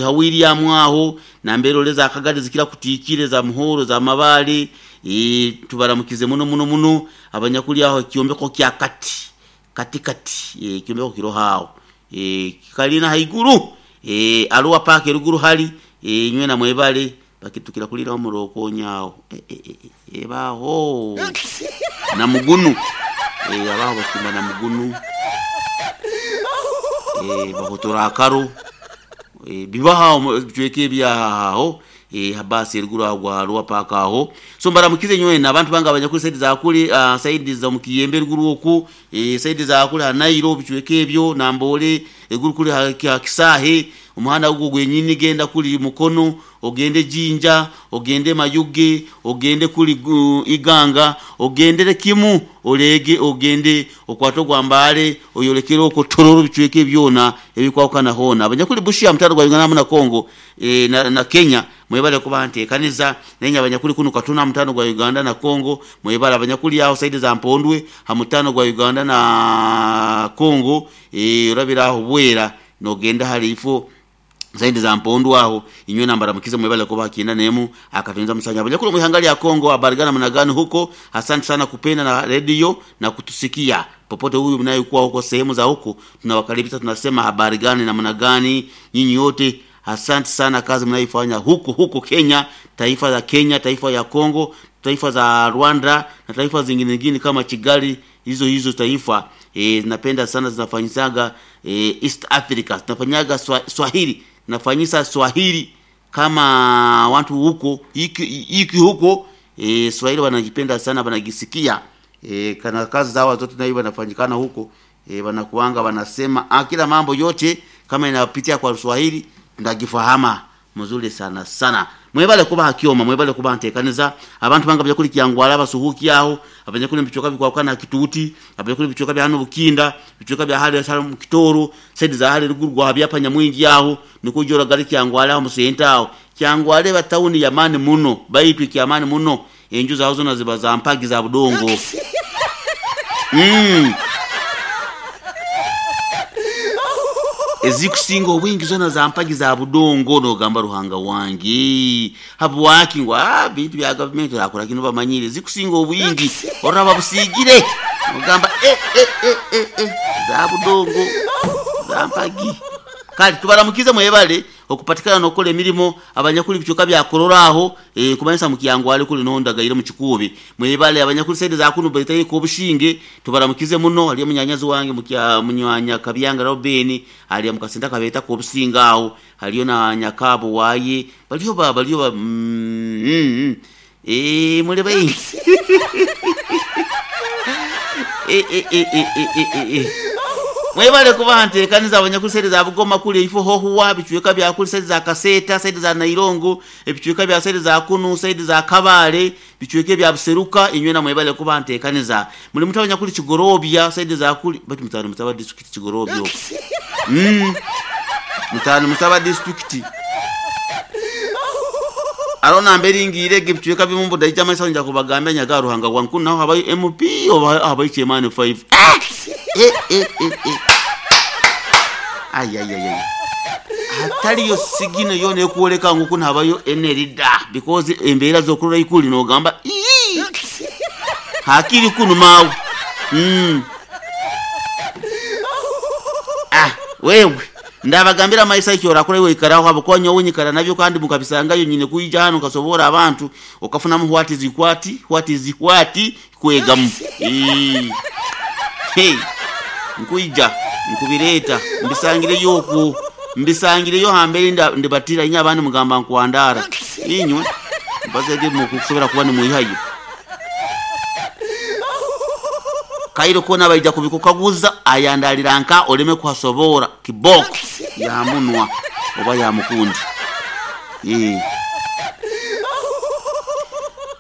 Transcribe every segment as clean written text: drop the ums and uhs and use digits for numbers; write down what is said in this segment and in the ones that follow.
Ha William aho nambere oleza akagari zikira kutiikire za muhoro za mabale tubaramukize muno muno muno abanyakuli aho kyombeko kya kati kati kati kyombeko kiro hao kalina haiguru aluwa paka eruguru hali nywe na mwebale bakitukira kulira omuroko nyawo ebaho na mugunu abaho bakimba na mugunu bahotora akaro bibaha bitweke ebyahaho habasi eruguru aho gwa paka aho so mbaramukize nywena abantu banga abanyakuli saidi za kuli saidi za mukiyembe eruguru oku saidi za kuli hanairo bitweke ebyo nambole eruguru kuli ha kisahe omuhanda ogwo gwenyini genda kuli mukono ogende jinja ogende mayuge ogende kuli iganga ogendere kimu olege ogende okwate ogwambale oyolekere okwo tororo bicweke byona ebikwawukana hona abanyakuli bushia mutaro gwa Uganda na Kongo na Kenya mwebale kuba nteekaniza naye abanyakuli kuno katuna mutano gwa Uganda na Kongo mwebale abanyakuli aho saidi za Mpondwe ha mutano gwa Uganda na Kongo orabira aho bwera nogenda hali ifo zaidi za mpondu aho inywe nambara mukize mwebale kuba kinda nemu akatunza musanya abanyakuli muhangali ya Kongo abarigana mnagani huko. Asante sana kupenda na radio na kutusikia popote huyu mnayekuwa huko sehemu za huko, tunawakaribisha tunasema habari gani na namna gani nyinyi wote. Asante sana kazi mnayoifanya huko huko Kenya, taifa la Kenya, taifa ya Kongo, taifa za Rwanda na taifa zingine zingine kama Kigali, hizo hizo taifa zinapenda sana zinafanyisaga East Africa zinafanyaga Swahili, zinafanyisa Swahili kama watu huko iki huko Swahili wanajipenda sana, wanajisikia kana kazi zao zote nayo wanafanyikana huko wanakuanga wanasema kila mambo yote kama inapitia kwa Swahili ndagifahama mzuri sana sana. Mwebale kuba hakioma mwebale kuba ntekaniza abantu banga byakuli kyangwala basuhuki aho abanyakuli mbichoka bikwakana kituti abanyakuli bichoka bya hano bukinda bichoka bya hali sala mukitoro saidi za hali ruguru gwa byapa nyamwingi aho nikujora gari kyangwala aho musenta aho kyangwale batawuni ya mani muno baitu kyamani muno enju zaho zona ziba za mpagi za budongo ezikusinga obwingi zona za mpagi za budongo nogamba ruhanga wange habwaki ngo bintu bya government akora kino bamanyire zikusinga obwingi oraba busigire ogamba za budongo za mpagi. Kali tubaramukize mwebale okupatikana nokola emirimu abanyakuli bichoka bya kororaho kumanyisa mukiyango ali kuli nonda gaire mu kikubi mwebale abanyakuli saidi za kuno bayitaye ko bushinge tubaramukize muno ali munyanyazi wange mukya munywanya kabyanga Robin ali mukasenda kabeta ko businga aho haliyo na nyakabo waye baliyo ba baliyo ba mule bayi mwebale kuba nteekaniza abanyakuli saidi za Bugoma kuli ifo hohuwa bichweka bya kuli saidi za Kaseta saidi za Nairongo ebichweka bya saidi za Kunu saidi za Kabale bichweke bya Buseruka inywe na mwebale kuba nteekaniza muli mutu abanyakuli Kigorobya saidi za kuli batu mutano mutaba district Kigorobya mutano mutaba district arona mbere ngire gibichweka bimumbu daija maisa nja kubagambya nyaga ruhanga gwanku naho habayo MP oba habayo chairman 5 Ay ay ay ay hataliyo sigino yona ekuoleka nguku nabayo enerida because embeera zokurora ikuli nogamba hakiri kunu mawe wewe ndabagambira maisa ikyo orakora iwe ikaraho habwo nyowe nyikara nabyo kandi mukabisangayo nyine kuija hano kasobora abantu okafunamu what is what what is what kwegamu hey nkuija nkubireta mbisangireyo oku mbisangireyo hambere ndibatira inya abandi mugamba nkwandara inywe mbazege mukusobora kuba nimwihayo kairo kona baija kubikukaguza ayandalira nka oleme kuhasobora kiboko ya munwa oba ya mukundi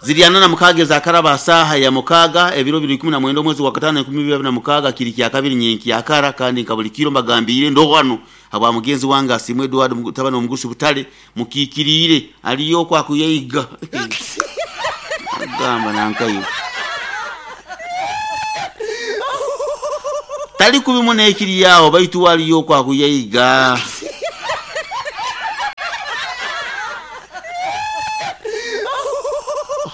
ziriana na mukage za karaba saha ya mukaga ebiro 2019 mwezi wa 5 2026 kiri kya kabiri nyenki yakara kandi nkabuli kiro mbagambire ndo hano aba mugenzi wange asimwe Edward mutabano omugusi butale mukikirire aliyo kwa kuyiga gamba nankayo tali kubimu nekiri yawo baitu waliyo kwa kuyiga.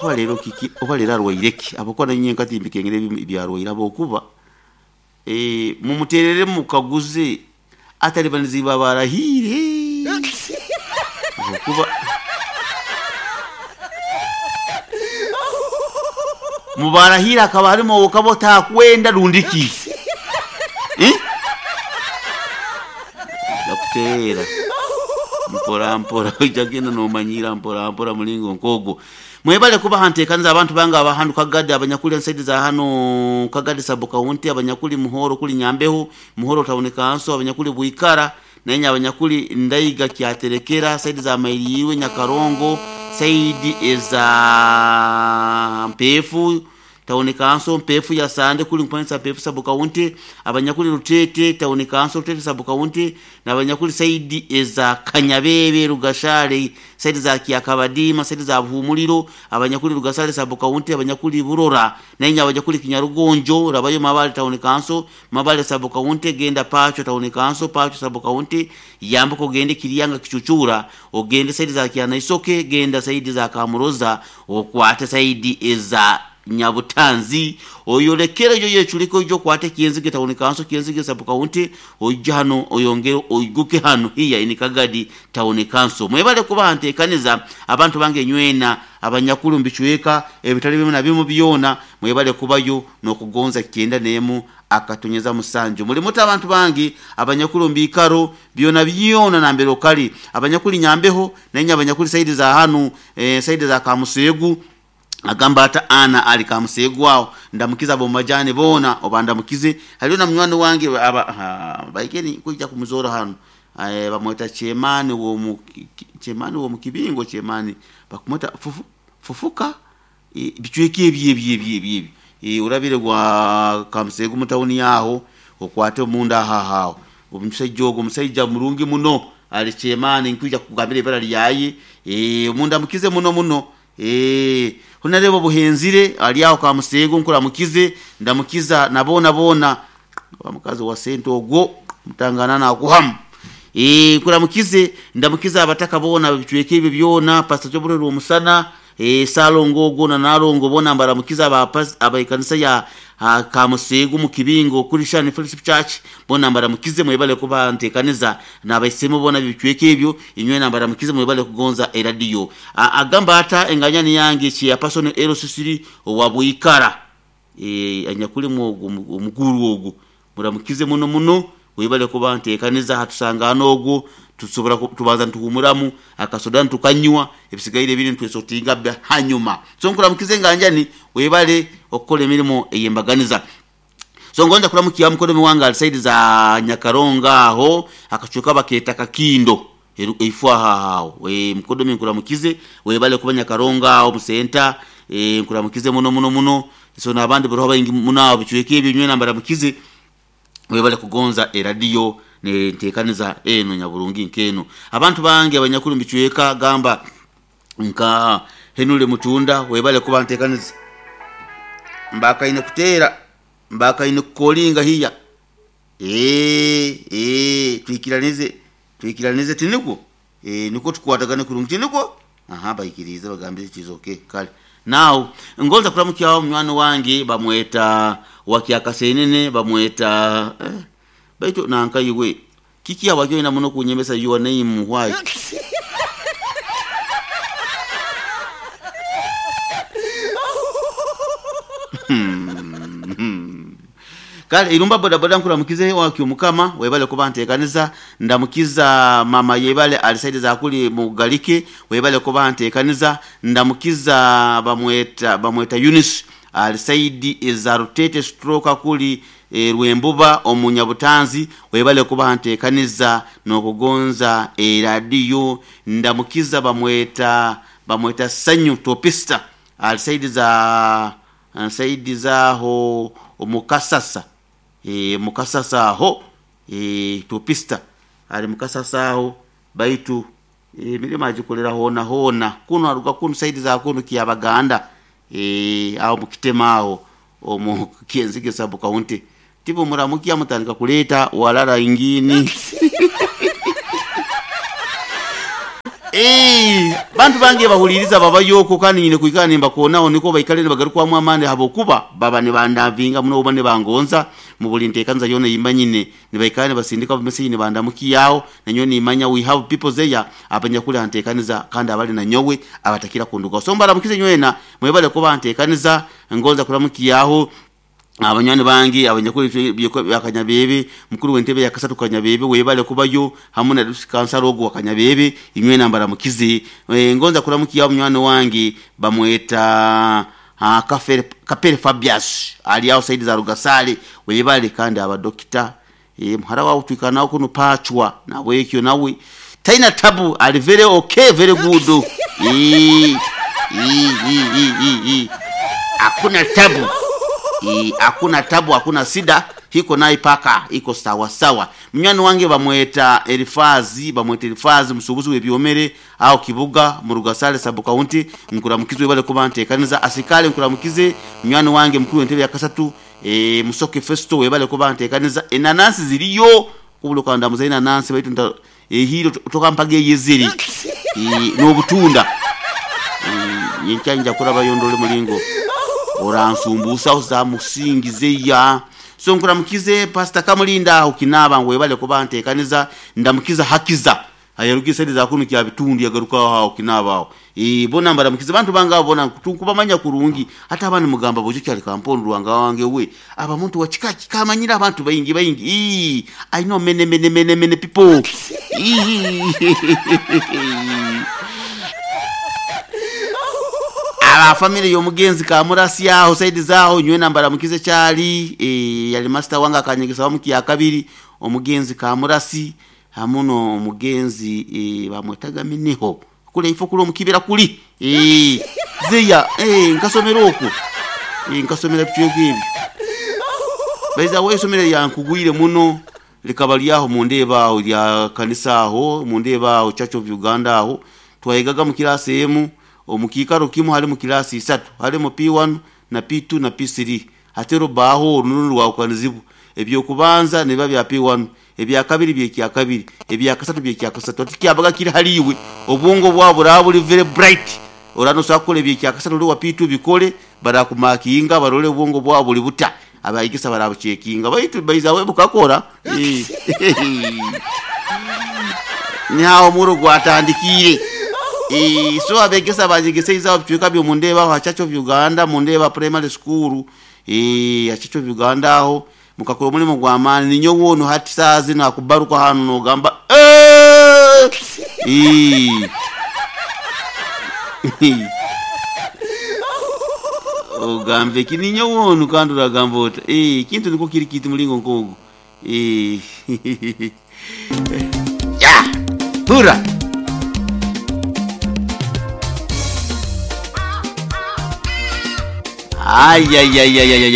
Oba leero kiki, oba leero arwaire ki? Habwokuba nanye nkati mbikengere ebyarwaire habwokuba mumuterere mukaguze atalibaniziibwe abarahiire. Habwokuba mubarahiire akaba harimu owokaba otakwenda rundi ki? Eh? Nja kuteera mpora mpora, ojja kugenda nomanyiira mpora mpora mulingo nk'ogwo. Mwebale kubaha nteekaniza abantu bange abahandu Kagadi, abanyakuli ensaidi za hano Kagadi sub county, abanyakuli Muhoro kuli Nyambeho, Muhoro town council, abanyakuli Bwikara, nenye abanyakuli Ndaiga Kyaterekera, saidi za Mairiirwe, Nyakarongo, saidi eza Mpefu town council, Mpefu ya Sande kuli mpanisa Mpefu sub county, abanyakuli Rutete town council, Rutete sub county, n'abanyakuli saidi eza Kanyabebe, Rugashale, saidi za Kiakabadima, saidi za Buhumuliro, abanyakuli Rugasale sub county, abanyakuli Burora, nenye abanyakuli Kinyarugonjo, rabayo Mabale town council, Mabale sub county, genda Pacho town council, Pacho sub county, yambuka ogende Kiriyanga Kichuchura, ogende saidi za Kianaisoke, genda saidi za Kamuroza, okwate saidi eza Nyabutanzi, oyolekere yo yechuliko ojo kwate Kienzige town council, Kienzige sub county, ojja hano oyongere oiguke hano hiya ini Kagadi town council. Mwebale kuba nteekaniza abantu bange nywena abanyakulu mbichweka ebitali bimu na bimu byona, mwebale kubayo n'okugonza 91.7. Muli muta abantu bange abanyakulu mbikaro byona byona nambere okali abanyakuli Nyambeho nenye abanyakuli saidi za hanu saidi za Kamusegu, agamba ata ana ali Kamusegu awo ndamukiza abo majani bona oba ndamukize haliyo na munywani wange aba baikeni kujja kumuzora hano bamweta Chemani wo mu Chemani wo mukibingo Chemani bakumweta fufu fufuka bichweke ebye ebye ebye ebye urabire gwa Kamusegu mutawuni yaho okwate munda hahaho omusajja ogwo musajja mulungi muno ali Chemani nkuja kugambira ibara lyaye omunda mukize muno muno. Honarebo buhenzire ali aho Kamusegu nkuramukize ndamukiza nabona bona omukazi wa sente ogwo mutangana nakuhamu. Nkuramukize ndamukiza abataka bona bichweke ebyo byona Pastor Joburero omusana Salongo ogwo na Narongo bona mbaramukiza abayikanisa ya Kamusegu mu kibingo kuri Shani Fellowship Church bona mbaramukize mwebale kuba ntekaniza nabaisemo bona bichweke ebyo inywe nambaramukize mwebale kugonza eradio. Agamba ata enganyani yange chi ya person Ero Sisiri wa Bwikara anyakuli omuguru ogwo muramukize muno muno webale kuba ntekaniza hatusangana ogwo tusobora tubanza ntuhumuramu akasoda ntukanywa ebisigaire biri ntwesotinga hanyuma. So nkuramukize nganjani webale okukola emirimu eyembaganiza. So ngonza kuramukiya mukono miwanga alisaidi za Nyakaronga aho akachuka baketa kakindo eifwa haho mukodo nkuramukize webale kuba Nyakaronga aho musenta nkuramukize muno muno muno. So nabandi bro bayingi munabo bichweke ebyo nywe nambara mukize webale kugonza eradio ne ntekaniza eno nyaburungi nkeno abantu bange abanyakulu mbichweka gamba nka Henule Mutunda webale kuba ntekaniza mbaka ine kutera mbaka ine kukolinga hiya twikiranize tiniko niko tukwatagane kurungi tiniko aha bayikirize bagambire kizoke kale. Now ngonza kuramukiya munywani wange bamweta wakiakasenene bamweta baitu nankayiwe kiki abakyo ina muno kunyemesa your name why Kale irumba boda boda nkuramukize wakyo mukama webale kuba nteekaniza ndamukiza mama yebale alisaidi za kuli mugalike webale kuba nteekaniza ndamukiza bamweta Eunice alisaidi za Rutete stroke kuli Rwembuba omunyabutanzi webale kuba nteekaniza n'okugonza eradiyo ndamukiza bamweta Sanyu Topista alisaidi za saidi zaho omukasasa mukasasa aho topista ali mukasasa aho baitu mirimo agikolera hona hona kuno aruga kuno saidi za kuno kiyabaganda aho mukitema aho omu Kienzige sub county tipo muramukia mutandika kuleta walala ingini. Eh, bantu bange bahuliriza babayo okwo kandi nyine kwikara nimbakoonaho niko baikale nibagarukwamu amaani habwokuba baba nibandavinga muno oba nibangonza mu buli nteekaniza yoona eyimanyine nibaikara nibasindika message nibandamukiyaho nanyowe nimanya we have people there abanyakuli ha nteekaniza kandi abali nanyowe abatakira kundugaho. So mbaramukize nywena mwebale kuba nteekaniza ngonza kuramukiyaho abanywani bange abanyakuli bya Kanyabebe, mukuru w'entebe ya kasatu Kanyabebe webale kubayo hamu na kansara ogu wa Kanyabebe inywena mbaramukize. Ngonza kuramukiyaho munywani wange bamweta Kapere Fabius ali aho saidi za Rugasale webale kandi abadokita muhara wawe twikana nawe kuno pachwa nawe ekyo nawe taina tabu ali very okay very good. Hakuna tabu. Hakuna tabu, hakuna sida, hiko naye paka iko sawa sawa. Munywani wange bamweta Elifazi, bamweta Elifazi musubuzi w'ebyomere aho Kibuga mu Rugasale sub county nkuramukize webale kuba nteekaniza asikale nkuramukize munywani wange mukuru w'entebe ya kasatu Musoke Festo webale kuba nteekaniza enanasi ziriyo kubuluka ndamuza enanasi baitu ehiro toka mpaga eyeziri n'obutunda nyenkya kuraba yondole mulingo oransumbusa uzamusingize ya so nkuramukize Pastor Kamulinda aho Kinaba ngo webale kuba nteekaniza ndamukiza hakiza ayaruki sedi za kunu kya bitundi yagaruka aho Kinaba aho bona mbaramukize bantu banga bona tukubamanya kurungi hata abandi mugamba bojo cyari kampondo rwanga wange we aba muntu wa kika kamanyira abantu bayingi bayingi I know many many many many people. Aba family y'omugenzi Kamurasi aho saidi zaho nywe nambara mukize cyali yali master wanga akanyegesa wa mukiya kabiri omugenzi Kamurasi hamuno omugenzi bamwetaga mineho kule ifo kule omukibira kuli zeya nkasomera okwo nkasomera bityo ebyo baiza we somera yankugwire muno likaba lyaho mundeba aho lya kanisa aho mundeba aho Church of Uganda aho twayigaga mu kirasi emu omukikaro kimu hali mu kirasi isatu hali mu P1 na P2 na P3 hatero baho orununu rwakanizibu ebyokubanza niba bya P1 ebya kabiri byekya kabiri ebya kasatu byekya kasatu tikyabaga kiri haliwe obwongo bwabo buri very bright orano sakole byekya kasatu wa P2 bikole barakumakinga barole obwongo bwabo buri buta abayigisa barabuchekinga baitu baiza bukakora nyawo muro gwatandikire so abegesa banjegesa izabo bitwika byo mundeba aho Church of Uganda mundeba primary school ya Church of Uganda aho mukakora omulimo gwa maani ninyo wono hati saazi nakubaruka hanu nogamba ogambe ki ninyo wono kandi uragamba ota kintu niko kiri kiti mulingo nkogu ya hura. Ay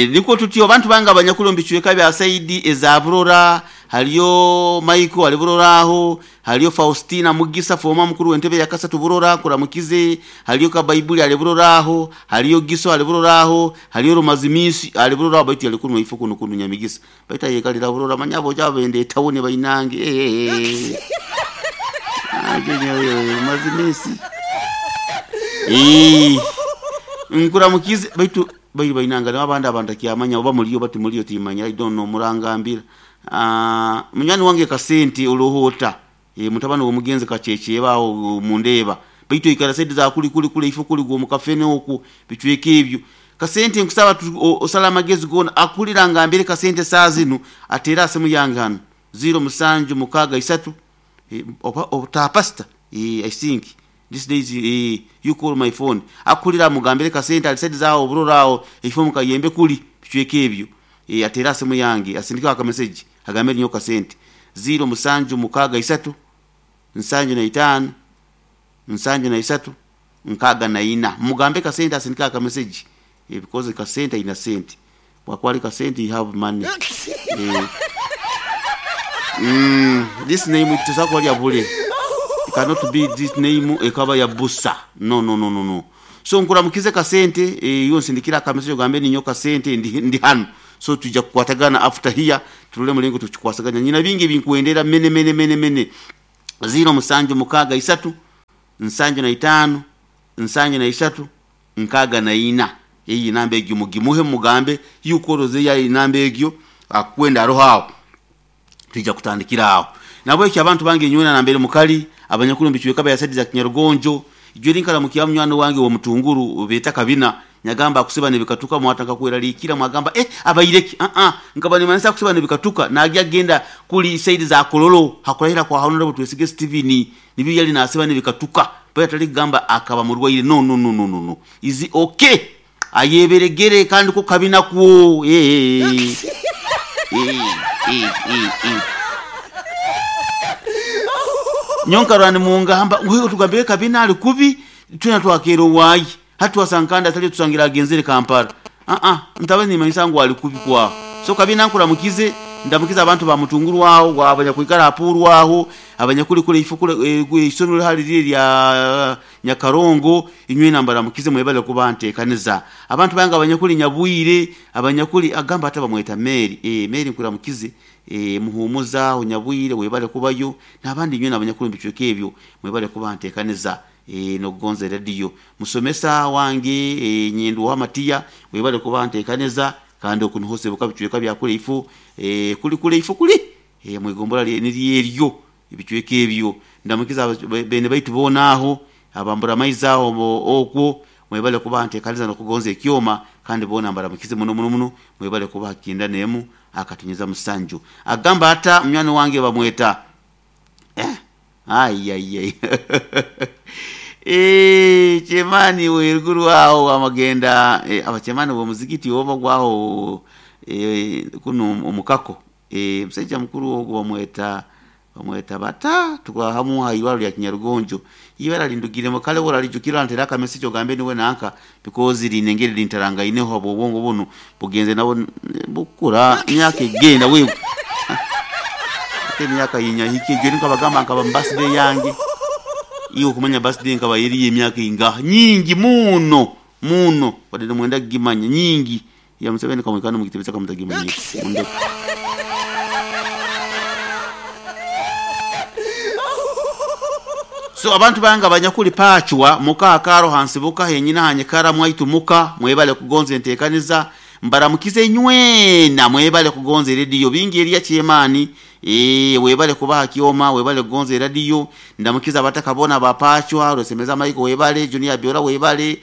niko tutyo bantu banga abanyakulu mbichweka bya Saidi ezaburora haliyo Michael aliburora aho haliyo Faustina Mugisa foma mukuru w'entebe ya kasatu burora kuramukize haliyo ka Bible aliburora aho haliyo Giso aliburora aho haliyo Rumazimisi aliburora baitu yalikuno ifo kuno kuno nyamigisa baita yekalira burora manyabo jabende tawone bainange aje Rumazimisi nkuramukize baitu bairi bainanga n'abandi abantu akyamanya oba muliyo bati muliyo timanya I don't know murangambira munywani wange Kasente olohota mutabani w'omugenzi Kacheche bawo mundeba baitu ikara saidi za kuli kuli kule ifo kuli gwo mukafene oku bitweke ebyo Kasente nkusaba osala amagezi gona akulira ngambire Kasente saa zino atera asemu yange hano 0 7 6 oba pastor I think this days you call my phone akulira mugambire Kasente alisedi zao oburora aho ifo mukayembe kuli bitweke ebyo atera asemu yange asindika aka message agambe nyo Kasente 0 7 6 75 73 64 mugambe Kasente asindika aka message because Kasente ina sente wakwali Kasente you have money this name tusakwali abule. It cannot be this name ekaba ya busa no no no no no. So nkuramukize Kasente yo nsindikira aka message gambe ninyo Kasente ndi hano so tujja kukwatagana after here tulule mulingo tukikwasaganya nyina bingi binkuendera mene mene mene mene 0 7 6 3 75 73 64. Eyi namba egyo mugimuhe mugambe yuko oroze ya namba egyo akwenda aroho aho twija kutandikira aho. Nabwekyo abantu bange nywena nambere mukali abanyakuru mbicweka bayasaidiza Kinyarugonjo ijwe linkala mukiya munywani wange wa mutunguru beta kabina nyagamba akusiba nebikatuka mwataka kweralikira mwagamba abaireki nkaba nimanisa kusiba nebikatuka nagya genda kuli saidi za Kololo hakurahira kwa Honorable Twesige Steven nibyo yali nasiba nebikatuka baya tali gamba akaba murwaire no no no no no no izi okay ayeberegere kandi ko kabina kuo nyonkarani mungamba wewe tugambire kabina ali kubi tuna twakero wayi hatuwasankanda atali tusangira agenzere Kampala ntabe nimanyisa ngu ali kubi kwa so kabina nkuramukize ndamukiza abantu ba mutunguru waho abanyakwikara apuru aho abanyakuri kule ifukule isomero hali liri lya Nyakarongo inywe nambara mukize mwebale kubantekaniza abantu banga abanyakuri Nyabwire abanyakuri agamba hata bamweta Mary Mary nkuramukize muhumuza Nyabwire webale kubayo nabandi inywe nabanyakuri mbicweke ebyo mwebale kubantekaniza nokugonza radio musomesa wange nyindu wa Matiya webale kubantekaniza kandi okunuhose bukabicweka byakule ifu kuli kule ifu kuli mwigombola niri eryo ebicweka ebyo ndamukiza bene baitu bonaho abambura maiza okwo mwebale kubantekaniza nokugonza ekyoma kandi bona mbaramukize muno muno muno mwebale kubakinda nemu akatunyeza musanju agamba hata mnyano wange bamweta ai ai ai chemani weruguru aho amagenda abachemani bo muzikiti oba gwaho kuno omukako musajja mukuru ogwo bamweta bata tukwahamu haibalo lya Kinyarugonjo ibara lindugire mukale wora lijukira ntera ka message ogambe niwe nanka because linengere lintaranga ineho abo obwongo buno bugenze nabo bukura myaka egenda wewe emyaka yinyahike je nkabagamba nkaba birthday yange iyo kumanya birthday nkaba yeri emyaka inga nyingi muno muno wadde mwenda gimanya nyingi ya Museveni kamwekana mugitebeza kamutagimanya munde so abantu banga abanyakuli pachwa muka akaro hansibuka henyina hanyekara mwaitu muka mwebale kugonza entekaniza mbaramukize nywena mwebale kugonza radio bingi eriya chemani webale kubaha kioma webale kugonza radio ndamukiza abatakabona bapachwa rosemeza maiko webale junior biora webale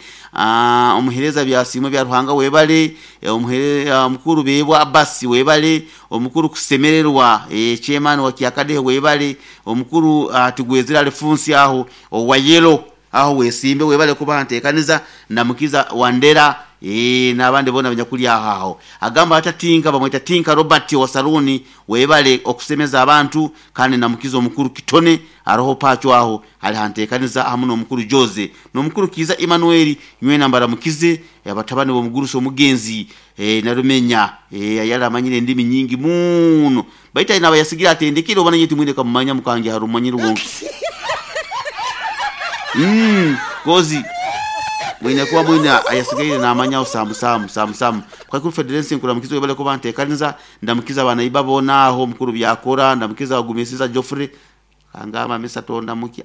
omuhereza bya simwe bya Ruhanga webale omukuru bebwa Abasi webale omukuru kusemererwa chemani wa kiakade webale omukuru tugwezera Alfonsi aho owayelo aho wesimbe webale kubaha ntekaniza ndamukiza Wandera n'abandi bona abanyakuli aho agamba atatinka bamweta Tinka Robert wa Saruni webale okusemeza abantu kandi namukizo omukuru Kitone aroho pacho aho ali hantekaniza hamu n'omukuru Jose n'omukuru Kiza Emmanuel nywe nambara mukize abatabani bomuguruso omugenzi narumenya yala amanyire ndimi nyingi muno baita nabayasigira atendekire obana nyeti mwine kamumanya mukange harumanyire wonke kozi mwine kuwa mwine ayasigaire namanya osamu samu samu samu kwa kuri federation kuramukizo webale ko bantekaniza ndamukiza abana ibabona aho mukuru byakora ndamukiza bagumisiza Geoffrey kangama misa tonda mukia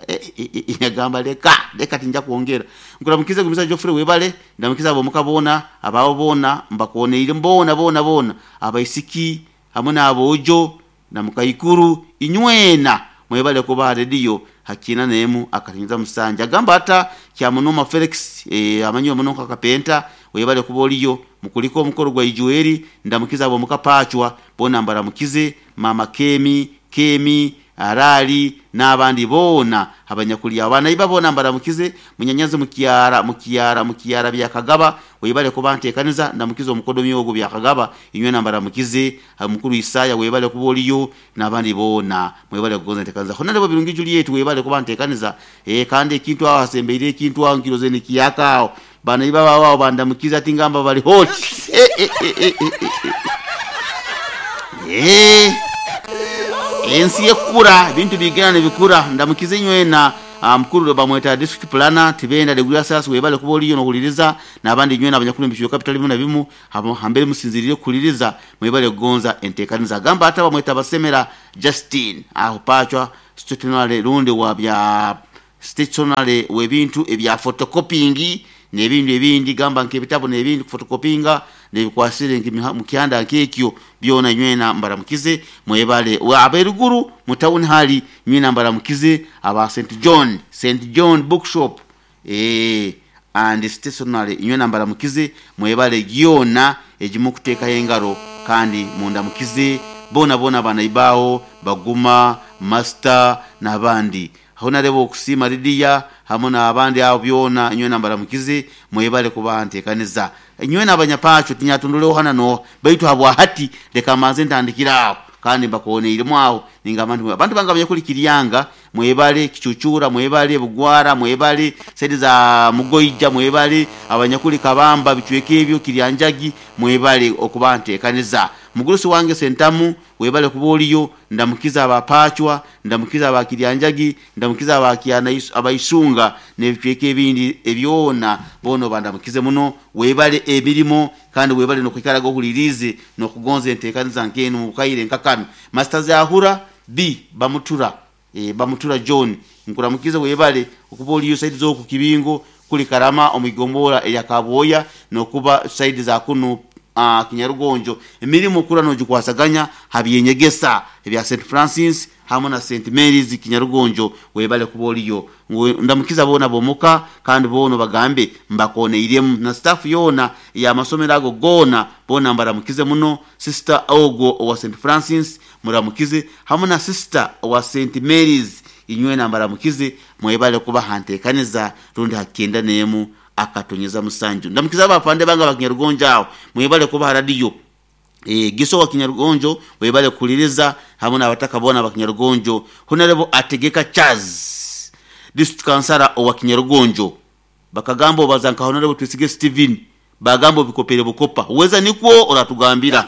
yagamba leka leka tinja kuongera nkuramukiza gumisa Geoffrey webale ndamukiza abo mukabona ababo bona mbakoneire mbona bona bona abaisiki hamwe n'abojo na mukayikuru inywena mwebale kuba radio hakina nemu akatinza musanja agamba hata kya munoma Felix amanyiwe muno kakapenta webale kuboliyo mukuliko omukoro gwa Ijueri ndamukiza abo mukapachwa bona mbaramukize mama Kemi Kemi Arali n'abandi bona abanyakuli abana ibabona mbaramukize munyanyaze mukiara mukiara mukiara byakagaba webale kubantekaniza ndamukize omukodomi ogo byakagaba inywe nambaramukize mukuru Isaya webale kuboliyo n'abandi bona mwebale kugonza ntekaniza honalebo Birungi Juliet webale kubantekaniza kandi ekintu aho asembeire ekintu aho nkiroze nikiyaka aho bana ibaba wao bandamukiza tingamba bali hot ensi yekura bintu bigana nebikura ndamukize nywena mukuru bamweta district planner tibenda regular sas webale kuboliyo nokuliriza nabandi nywena abanyakuru mbisho capital bimu na bimu hambere musinzirire kuliriza mwebale kugonza entekaniza gamba hata bamweta basemera Justin aho pachwa stutenale runde wa bya Stationery w'ebintu ebya photocopying n'ebindi ebindi gamba nk'ebitabo n'ebindi kufotokopinga nebikwasire mukyanda nk'ekyo byona nywena mbaramukize mwebale aberuguru mu town hali nywena mbaramukize aba St John, St John Bookshop and stationery nywena mbaramukize mwebale gyona egimukuteekayo engaro kandi mundamukize bona bona banaibaho baguma master n'abandi Honorable Okusima Lydia hamwe n'abandi abo byona nywena mbaramukize mwebale kuba ntekaniza nywena abanyapacho tinyatunduleho hana no baitu habwa hati leka manze ntandikira aho kandi mbakoneiremu aho ningamba nti abantu bange abanyakulikiryanga mwebale kichuchura mwebale bugwara mwebale saidi za mugoija mwebale abanyakuli kabamba bichweka ebyo kiryanjagi mwebale okuba ntekaniza mugurusi wange sentamu webale kuba oliyo ndamukiza abapachwa ndamukiza abakiryanjagi ndamukiza abakyana abaisunga n'ebicweka ebindi ebyona bono bandamukize muno webale emirimo kandi webale nokwikaraga ohulirize nokugonza entekaniza nkenu mubukaire nkakano Master Zahura B bamutura bamutura John nkuramukize webale okuba oliyo saidi z'oku kibingo kuli karama omuigombora eya Kaboya nokuba saidi za kunu Kinyarugonjo emirimu kura nogikwasaganya habyenyegesa ebya St Francis hamwe na St Mary's Kinyarugonjo webale kuba oliyo ndamukiza bona bomuka kandi bono bagambe mbakoneiremu na staff yona ya masomero ago gona bona mbaramukize muno sister ogo owa St Francis muramukize hamwe na sister owa St Mary's inywe nambaramukize mwebale kuba hantekaniza rundi hakenda nemu akatonyeza musanju ndamukiza abafande banga bakinyarugonjo aho mwebale kuba radio giso wa Kinyarugonjo webale kuliriza hamwe n'abataka bona bakinyarugonjo Honorable Ategeka Charles district councilor owa Kinyarugonjo bakagamba obazanka Honorable Twisige Steven bagamba bikopere bukopa uweza nikwo oratugambira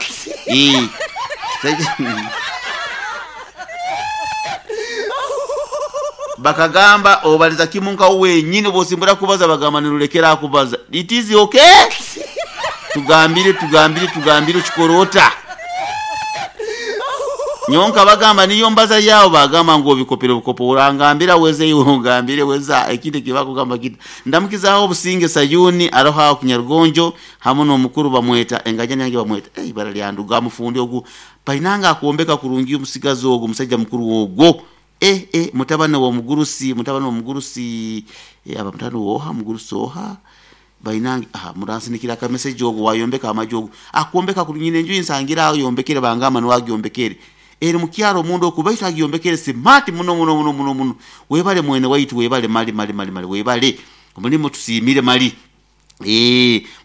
bakagamba obaliza kimunka wenyine bosimbura kubaza bagamba nirulekera kubaza it is okay tugambire tugambire tugambire chikorota nyonka bagamba niyo mbaza yao bagamba ngo bikopere bukopo urangambira weze iwe ungambire weza ekindi kibakugamba kita ndamukizaho obusinge sayuni aroha Kinyarugonjo hamwe n'omukuru bamweta engajani yange bamweta ibara lyanduga mufundi ogu painanga akuombeka kurungi omusigazi ogu musajja mukuru ogwo mutabane wa mugurusi mutabane wa mugurusi aba mutabane woha mugurusi oha bainange muransinikira ka message ogo wayombeka amajogo akuombeka kunyine nju insangira ayombekere bangama nwagyombekere eri mukyaro mundu okubaita agyombekere smart muno muno muno muno muno webale mwene waitu webale mali mali mali mali webale omulimo tusimire mali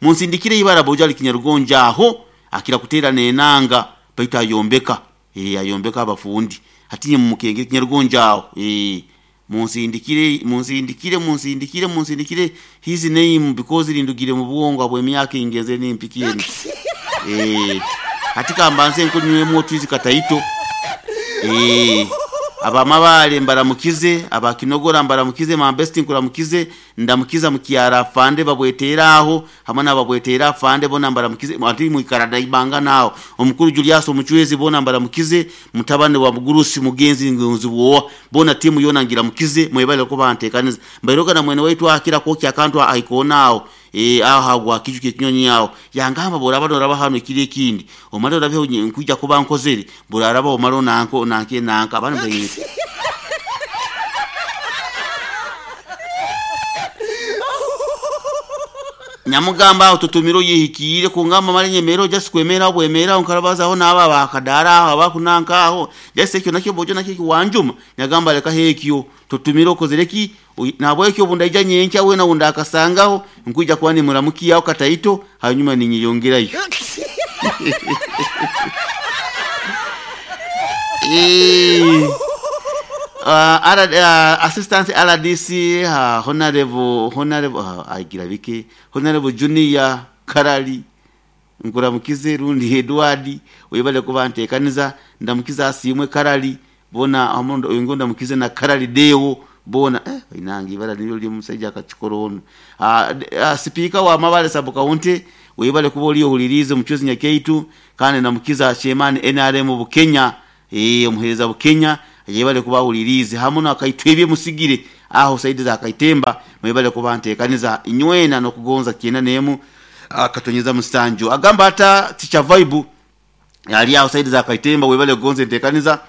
munsindikire ibara bojali Kinyarugonja aho akira kutera nenanga baita ayombeka ayombeka abafundi hatinye mumukenge Kinyarugonja aho munsindikire munsindikire munsindikire munsindikire his name because lindugire mu bwongo abwe emyaka ingeze nimpikieni hatika mbanze nkunywemo twizi kataito abamabale mbaramukize abakinogora mbaramukize mambesti nkuramukize ndamukiza mukiara fande babwetera aho hamwe nababwetera fande bona mbaramukize ati muikarada ibanga nao omukuru Julius omuchwezi bona mbaramukize mutabane wa mugurusi mugenzi ngunzi bwo bona timu yona ngira mukize mwebale ko bantekaniza mbairoga na mwene waitu akira ko kyakantu aikonao aho hagwa kijuke kinyonyi yao yangamba boraba noraba hano kiri ekindi omale orabe nkujja kuba nkozere boraraba omalo nanko nanke nanka abana mbaye nyamugamba aho tutumiro yihikire kungamba male nyemero just kwemera bwemera onkarabazaho naba bakadara aho abakunanka aho just ekyo nakyo bojo nakyo kiwanjuma nyagamba leka hekyo tutumiro kozereki nabwo ekyo bundaija nyenkya we na unda akasangaho nkuja kwani muramukiyaho kataito hanyuma ninyiyongerayo assistant RDC honorable honorable agira bike honorable junior Karali nkuramukize rundi Edward webale kuba ntekaniza ndamukiza asimwe Karali bona amundo ngo ndamukize na Karali Deo bona inangi ibara niyo lyo musajja akachikoro ono speaker wa Mabale sub county webale kuba oliyo hulirize muchuzi nyakeitu kandi ndamukiza chairman NRM Bukenya omuhereza Bukenya yebale kuba hulirize hamwe nakaitwebye musigire Aho side za Kaitemba mwebale kuba ntekaniza inywena nokugonza 91 akatonyeza musanju. Agamba ata Teacher Vibe ali aho side za Kaitemba, webale kugonza entekaniza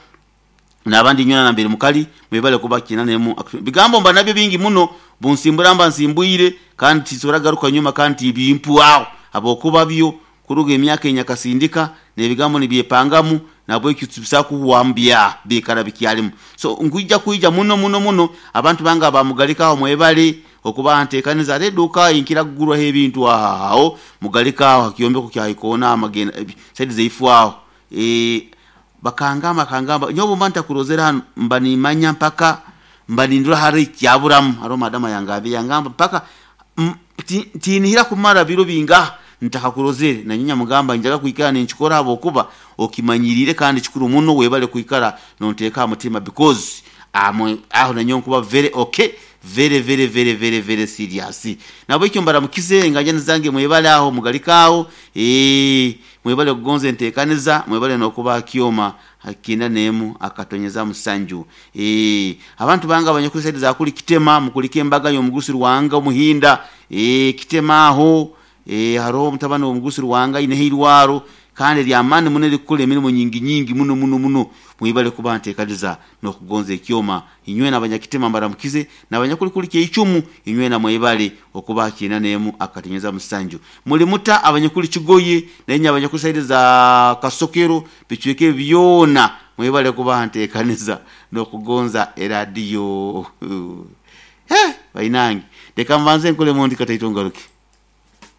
nabandi nywena na mbere mukali mwebale kuba 91. Bigambo mba nabyo bingi muno bunsimbura mba nsimbwire kandi tisobora garuka nyuma kandi bimpu aho abokuba byo kuruga emyaka enyakasindika nebigambo nibyepangamu nabwo ekitubisa kuwambya bikara bikyalimu. So nkuija kuija muno muno muno abantu banga bamugalika aho mwebale okuba ntekaniza reduka inkira kugurwa ebintu aho mugalika aho kyombeko kya ikona amagenda side zeifu aho bakangamba kangamba nyobo mba ntakurozera hano mba nimanya mpaka mba nindura hari kyaburamu haro madama yangabe yangamba mpaka tinihira kumara biro binga ntakakurozere na nyinya mugamba njaga kuikara ninchikora abo kuba okimanyirire kandi chikuru muno webale kuikara nonteka mutima because amwe aho nanyo kuba very okay, very very very very very serious. Nabo icyo mbaramukize nganya nzange mwebale aho mugalikaho mwebale kugonza entekaniza mwebale nokuba kyoma 91 akatonyeza musanju. Abantu banga abanyakuri side za kuli Kitema mukulike embaga y'omugusi Rwanga omuhinda Kitema aho haro mutabani omugusi Rwanga ine hirwaro kandi lyamani muno likukula emirimu nyingi nyingi muno muno muno mwibale kuba ntekaniza nokugonza ekyoma inywe n'abanyakitema mbaramukize n'abanyakuli kye icumu inywe na mwibale okuba 91 akatonyeza musanju. Muli muta abanyakuli Kigoye nenye abanyakuli side za Kasokero bichweke byona mwibale kuba ntekaniza nokugonza eradio. Bainange reka mbanze nkole mundi kataito ngaruke.